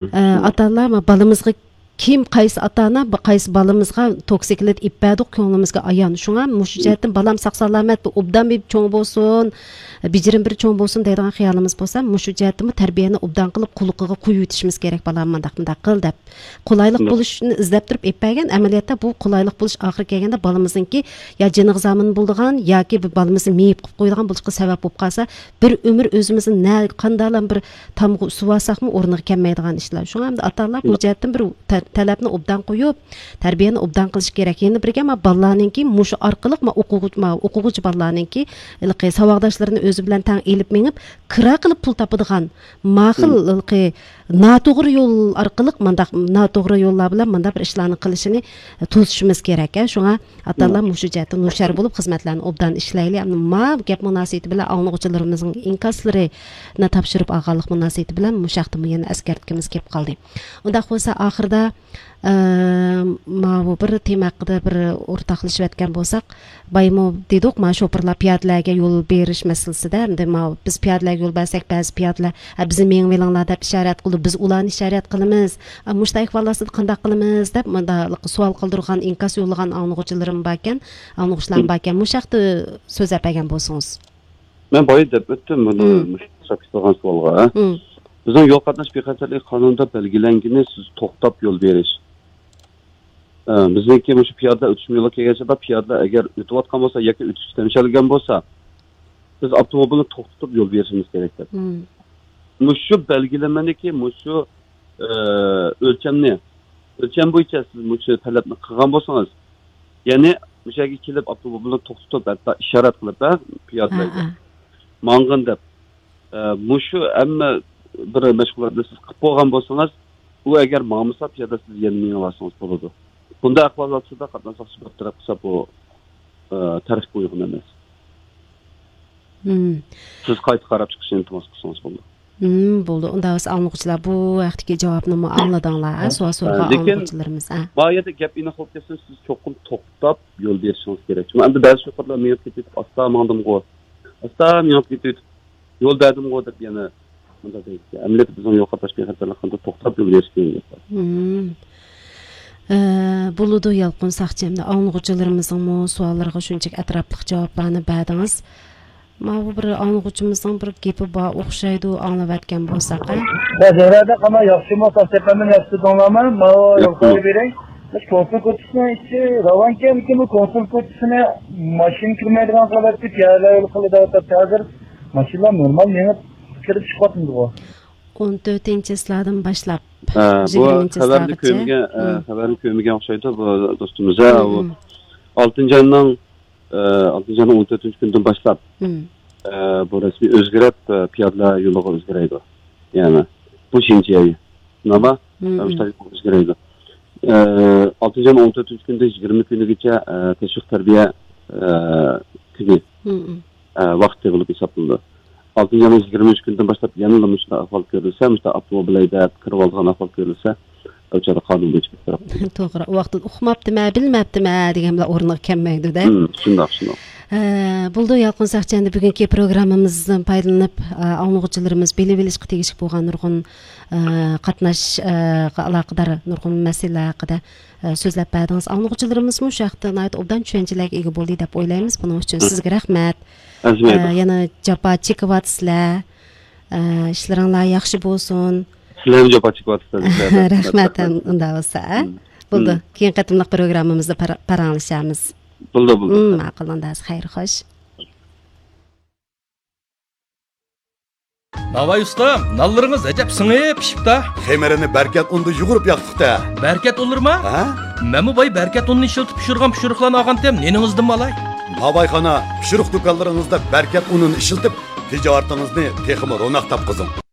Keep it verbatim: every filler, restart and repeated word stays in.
ئە، ئاتا-ئانىلار، ما، بالىمىزغا كىم، قايسى ئاتا-ئانا، ب-، قايسى بالىمىزغا توكسىكلىت ئېلىپ بەردۇق، كۆڭلىمىزگە ئايان. شۇڭا مۇشۇ جەھەتتىن بالام ساق-سالامەت، بىر ئوبدان بىر چوڭ بولسۇن، بېجىرىم بىر چوڭ بولسۇن دەيدىغان خىيالىمىز بولسا، مۇشۇ جەھەتتىنمۇ تەربىيەنى ئوبدان قىلىپ، قۇلىقىغا قويۇۋېتىشىمىز كېرەك، بالام، مانداق، مۇنداق قىل دەپ. قولايلىق بولۇشنى ئىزدەپ تۇرۇپ ئېلىپ بەرگەن، ئەمەلىيەتتە بۇ قولايلىق بولۇش ئاخىرى كەلگەندە بالىمىزنىڭكى يا جېنىغا زامىن بولىدىغان ياكى بىر بالىمىزنى مېيىپ قىلىپ قويىدىغان بولۇشقا سەۋەب بولۇپ قالسا، بىر ئۆمۈر ئۆزىمىزنى نە قانداقلام بىر تامغا ئۇسۇۋالساقمۇ ئورنىغا كەلمەيدىغان ئىشلار. شۇڭا ئەمدى ئاتا-ئانىلار بۇ جەھەتتىن بىر تە-، تەلەپنى ئوبدان قويۇپ، تەربىيەنى ئوبدان قىلىشى كېرەك. يەنە بىرگە، ما، بالىلارنىڭكى مۇشۇ ئارقىلىق، ما، ئوقۇغۇچ-، ما، ئوقۇغۇچى بالىلارنىڭكى ھېلىقى ساۋاقداشلىرىنى ئۆزى بىلەن تەڭ ئېلىپ مېڭىپ، كىرا قىلىپ پۇل تاپىدىغان، ما خىل ھېلىقى ناتوغرا يول ئارقىلىق مانداق، ناتوغرا يوللار بىلەن مانداق بىر ئىشلارنى قىلىشىنى توسۇشىمىز كېرەك، ھە. شۇڭا ئاتا-ئانىلار مۇشۇ جەھەتتە ھوشيار بولۇپ، خىزمەتلەرنى ئوبدان ئىشلەيلى. ئەمدى ما گەپ مۇناسىۋىتى بىلەن ئاڭلىغۇچىلىرىمىزنىڭ ئىنكاسلىرىنى تاپشۇرۇپ ئالغانلىق مۇناسىۋىتى بىلەن مۇشۇ ھەقتىمۇ يەنە ئەسكەرتكۈمىز كېلىپ قالدى. ئۇنداق بولسا، ئاخىرىدا، ئە، ماۋۇ بىر تېما ھەققىدە بىر ئورتاقلىشىۋەتكەن بولساق، بايمۇ دېدۇق، ما شوپۇرلار پىيادىلەرگە يول بېرىش مەسىلىسىدە، ئەمدى ما بىز پىيادىلەرگە يول بەرسەك، بەزى پىيادىلەر، ھە، بىزنى مېڭىۋېلىڭلار دەپ ئىشارەت قىلىدۇ، بىز ئۇلارنى ئىشارەت قىلىمىز. ئە، مۇشۇنداق ئەھۋال ئاستىدا قانداق قىلىمىز دەپ، مۇنداق سوئال قالدۇرغان، ئىنكاس يوللىغان ئاڭلىغۇچىلىرىم باركەن، ئاڭلىغۇچىلارمۇ باركەن. مۇشۇ ھەقتە سۆزلەپ بەرگەن بولسىڭىز. مەن بايا دەپ ئۆتتۈم بۇنى، مۇشۇ ساقچى قىلغان سوئالغا. بىزنىڭ يول قاتناش بىخەتەرلىكى قانۇنىدا بەلگىلەنگىنى سىز توختاپ يول بېرىش. ئە، بىزنىڭكى مۇشۇ پىيادىلەر ئۆتۈشمە يولىغا كەلگەن چاغدا پىيادىلەر ئەگەر ئۆتۈۋاتقان بولسا ياكى ئۆتۈشكە تەمشەلگەن بولسا، بىز ئاپتوموبىلنى توختىتىپ يول بېرىشىمىز كېرەك دەپ. مۇشۇ بەلگىلىمىنىكى مۇشۇ، ئە، ئۆلچەمنى، ئۆلچەم بويىچە سىز مۇشۇ تەلەپنى قىلغان بولسىڭىز، يەنى مۇشۇ يەرگە كېلىپ ئاپتوموبىلنى توختىتىپ، ھەتتا ئىشارەت قىلىپ، ھە، پىيادىلەرگە ماڭغىن دەپ، ئە، مۇشۇ ھەممە بىر مەشغۇلاتنى سىز قىلىپ بولغان بولسىڭىز، ئۇ ئەگەر ماڭمىسا، پىيادە سىز يەنە مېڭىۋالسىڭىز بولىدۇ. بۇنداق ئەھۋاللاردا قاتناش ساقچىسى بىر تەرەپ قىلسا، بۇ، ئە، تەرتىپكە ئۇيغۇن ئەمەس. سىز قايتا قاراپ چىقىشنى ئىلتىماس قىلسىڭىز بولىدۇ. بولدى. ئۇنداق بولسا ئاڭلىغۇچىلار بۇ ھەقتىكى جاۋابنىمۇ ئاڭلىدىڭلار، ھە؟ سوئال سورىغان ئاڭلىغۇچىلىرىمىز، ھە؟ لېكىن ما يەردە گەپ ئېنىق بولۇپ كەتسۇن، سىز چوقۇم توختاپ يول بېرىشىڭىز كېرەك. شۇڭا ئەمدى بەزى شوپۇرلار مېڭىپ كېتىۋېتىپ، ئاستا ماڭدىمغۇ، ئاستا مېڭىپ كېتىۋېتىپ، يول بەردىمغۇ دەپ يەنە مۇنداق دەيدىكەن. ئەمەلىيەتتە بىزنىڭ يول قاتناش بىخەتەرلىكىدە توختاپ يول بېرىش دېگەن گەپ بار. ئە، بولىدۇ، يالقۇن ساقچى، ئەمدى ئاڭلىغۇچىلىرىمىزنىڭمۇ سوئاللىرىغا شۇنچىلىك ئەتراپلىق جاۋابلارنى بەردىڭىز. ماۋۇ بىر ئاڭلىغۇچىمىزنىڭ بىر گېپى بار ئوخشايدۇ، ئاڭلاۋەتكەن بولساق، ھە؟ يا، زەھرەدە قانا ياخشىمۇ، ساق سەپەرمەن ياخشى دەڭلارمۇ؟ ماۋۇ ياخشى. ياخشى بېرەي. مۇشۇ كونسۇل كوچىسىنىڭ ئىچى راۋانكەنمىكىن، بۇ كونسۇل كوچىسىنى ماشىنا كىرمەيدىغان قىلىۋەتتى، پىيادە يول قىلىدۇ دەپ ھازىر ماشىنىلار نورمال مېڭىپ كىرىپ چىقىۋاتمىدىغۇ؟ ئون تۆتىنچى چىسلادىن باشلاپ، ھە، بۇ يىگىرمىنچى خەۋەرنى چىسلاغىچە. كۆرمىگەن، ھە، خەۋەرنى كۆرمىگەن ئوخشايدۇ بۇ دوستىمىز. ھە، ئۇ ئالتىنچى ئاينىڭ، ئە، ئالتىنچى ئاينىڭ ئون تۆتىنچى كۈنىدىن باشلاپ، ئە، بۇ رەسمىي ئۆزگىرىپ، ئە، پىيادىلەر يولىغا ئۆزگىرەيدۇ. يەنى بۇ شىنجيەي. شۇنداقمۇ؟ ئە، مۇشۇنداق ئۆزگىرەيدۇ. ئە، ئالتىنچى ئاينىڭ ئون تۆتىنچى كۈنىدىن يىگىرمە كۈنىگىچە، ئە، تەشۋىق تەربىيە، ئە، كۈنى، ئە، ۋاقتى بولۇپ ھېسابلىنىدۇ. ئالتىنچى ئاينىڭ يىگىرمە ئۈچ كۈنىدىن باشلاپ يەنىلا مۇشۇنداق ئەھۋال كۆرۈلسە، مۇشۇنداق ئاپتوموبىل ھەيدەپ كىرىۋالىدىغان ئەھۋال كۆرۈلسە، ئۇ چاغدا قانۇن بويىچە بىر تەرەپ. توغرا. ئۇ ۋاقىتتا ئۇقماپتىمەن، بىلمەپتىمەن دېگەن بىلەن ئورنىغا كەلمەيدۇ-دە. ھىم، شۇنداق، شۇنداق. ھە، بولىدۇ، يالقۇن ساقچى، ئەمدى بۈگۈنكى پروگراممىمىزدىن پايدىلىنىپ، ئە، ئاڭلىغۇچىلىرىمىز بىلىۋېلىشقا تېگىشلىك بولغان نۇرغۇن، ئە، قاتناش، ئە، ئالاقىدار نۇرغۇن مەسىلىلەر ھەققىدە، ئە، سۆزلەپ بەردىڭىز. ئاڭلىغۇچىلىرىمىزمۇ شۇ ھەقتە ناھايىتى ئوبدان چۈشەنچىلەرگە ئىگە بولدى دەپ ئويلايمىز. بۇنىڭ ئۈچۈن سىزگە رەھمەت. ئە، يەنە جاپا چېكىۋاتىسىلەر. ئە، ئىشلىرىڭلار ياخشى بولسۇن. سىلەرمۇ جاپا چېكىۋاتىسىلەر. رەھمەت، ئۇنداق بولسا، ئە؟ بولىدۇ. كېيىنكى قېتىملىق پروگراممىمىزدا پاراڭلىشارمىز. بولىدۇ، بولىدۇ. ماقۇل، ئۇنداق، خەير، خوش. ناۋاي ئۇستام، نانلىرىڭىز ئەجەب سىڭىپ پىشىپتا. خېمىرىنى بەركەت ئۇندا يۇغۇرۇپ ياقتۇق-تە. بەركەت ئۇنلىرىما؟ ھە؟ مەنمۇ باي بەركەت ئۇنىنى ئىشلىتىپ پىشۇرغان پىشۇرۇقلارنى ئالغانتىم، نېنىڭىزدىنمۇ ئالاي؟ ناۋايخانا، پىشۇرۇق دۇكانلىرىڭىزدا بەركەت ئۇنىنى ئىشلىتىپ، تىجارىتىڭىزنى تېخىمۇ روناق تاپقۇزۇڭ.